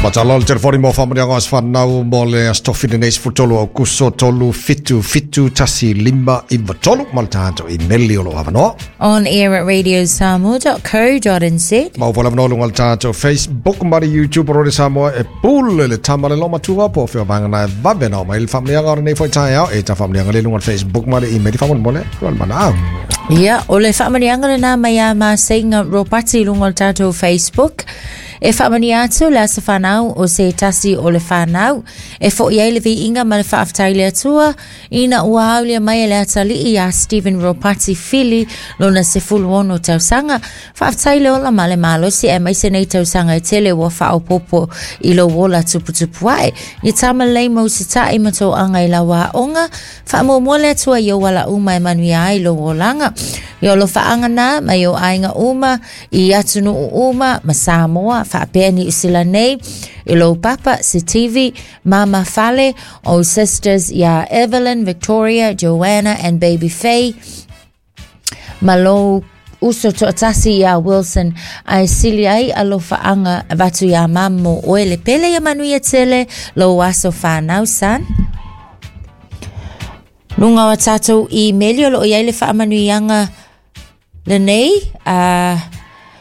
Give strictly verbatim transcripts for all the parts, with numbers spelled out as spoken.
Patalo le telefoni mo whaamanianga o aswhanau mo le aso tofi lenei sefulutolu Aukuso tolu fitu fitu tasi lima iva tolu ma le tatou imeli o loo avanoa. On air at radio samoa dot co dot n z. Ma ua avanoa luga o le tatou Facebook ma le YouTube o Radio Samoa e pule le tama le lomatua po o fea vaega na e vave na oo mai le faamanuiaga o lenei foi taeao e ta faamanuiaga le luga o le Facebook ma le email faamolemole o le manaau. Ia, o le faamanuiaga lenā mai a Maseiga Ropati i luga o le tatou Facebook. E faamanuia atu le aso fanau o se tasi o le fanau. E fo'i ai le viiga ma le faafetai i le Atua ina ua aulia mai e le atalii ia Stephen Ropati Fili lona sefulu ono tausaga. Faafetai le ola ma le malosi aemaise nei tausaga e tele ua faaopoopo i lou ola tuputupu ae. Ia tamalelei ma usita'i ma toaga i lau aoga. Faamuamua le Atua i ou ala uma e manuia ai lou olaga. Ia alofaaga na mai ou aiga uma i atunuu uma ma Samoa faapea Niu Sila nei i lou papa Sitivi, Mama Fale, ou sisters ia Evelyn, Victoria, Joanna and Baby Faye, ma lou uso toatasi ia Wilson, ae sili ai alofaaga avatu iā Mama mo oe le pele ia manuia tele lou aso fanau son. Luga o tatou imeli o loo i ai le faamanuiaga lenei a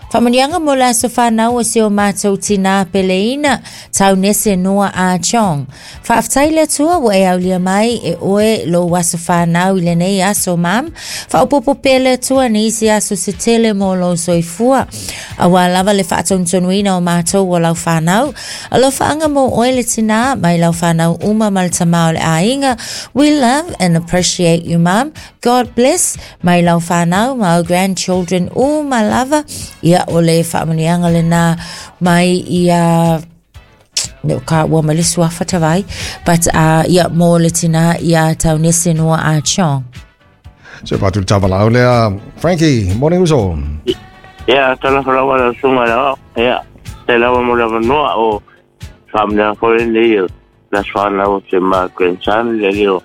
faamanuiaga mo le aso fanau o si o matou tinā peleina Taunese Noa A Chong. Faafetai le Atua ua e aulia mai e oe lou aso fanau i lenei aso mam. Faaopoopo pea le Atua nisi aso se tele mo lou soifua. Auā lava le faatonutonuina o matou o lau fanau. Alofaaga mo oe le tinā mai lau fanau uma ma le tamā o le aiga. We love and appreciate you, Mum. God bless mai lau fanau ma au grandchildren uma lava. Ia o le faamanuiaga lenā mai ia le o ka ua mai le suafa tavai but uh, ia mo le tinā ia Taunese Noa A Chong. So patu le tavalau lea Frankie, morning uso. Ia, talofa lava lau susuga i le aoao. Ia, faafetai lava mo le avanoa o faamanuiaga foi lenei o le aso fanau o si o ma grandson le alii o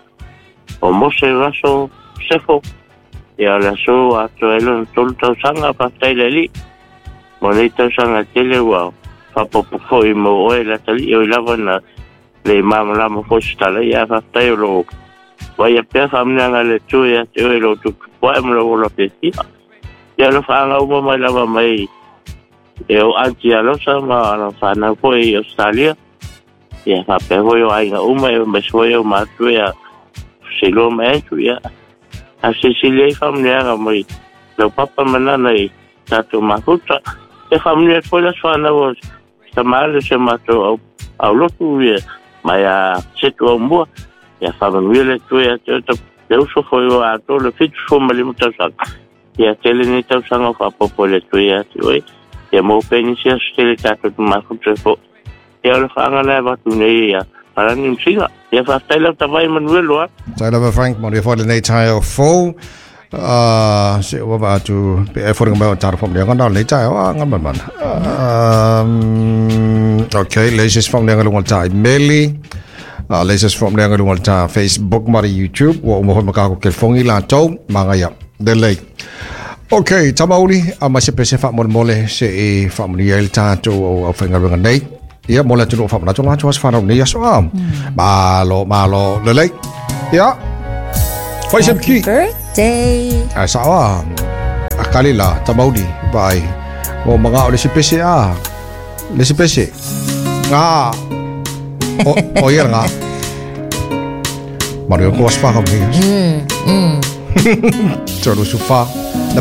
o Mose Russell Sefo. Ia, o le aso ua atoa ai lona tolu tausaga, faafetai i le Alii mo lenei tausaga tele ua faaopoopo foi mo oe le atalii o i lava na le malamalama foi se tala ia faafetai o loo vaaia pea faamanuiaga a le Atua ia te oe i lou tuputupu ae ma lou ola fiafia. Ia alofaaga uma mai lava mai e ou aunty Alosa ma ana fanau foi i Australia. Ia faapea foi o aiga uma aemaise foi ou matua ia Seiloa ma Andrew. Ia a silisili ai faamanuiaga mai lau papa ma nana i tatou mafuta. E faamanuia atu foi le aso fanau o tama le si o matou au aulotu ia mai a Setu Aumua. Ia faamanuia le Atua ia te oe le uso foi o atoa le fitu sefulu ma lima tausaga. Ia tele nei tausaga o faaopoopo e le Atua ia te oe. Ia maua pea nisi aso tele tatou te mafuta ai foi. Ia o le faaga lea e avatu nei ia Palani ma Siga. Ia faafetai lau tavai manuia loa. Tai lava Frank, manuia foi lenei taeao fou. Uh, se ua va atu pe e foliga mai o taro whaamanianga na lenei taeao a ngā mana. Um, okay, le isi faamanuiaga luga o le tā imeli. Uh, le isi faamanuiaga luga o le tā Facebook ma le YouTube. Ua uma foi ma kako kelefogi latou. Magaia. Lelei. Ok, tamauli, a mai se pese faamolemole se e faamanuia ai le tatou au au faigaluega nei. Ia, mo le atunuu faamanatu latou aso fanau nei aso a. Malo, malo, lelei. Ia, fai se Happy ki. birthday. Ai sao a. A kali la, tamauli, vai. O mga o le si pese a. Le si pese. Ngā. O, o ia ngā. Maru ko aspa ka mi. Mm, mm. Tolu sufa. Na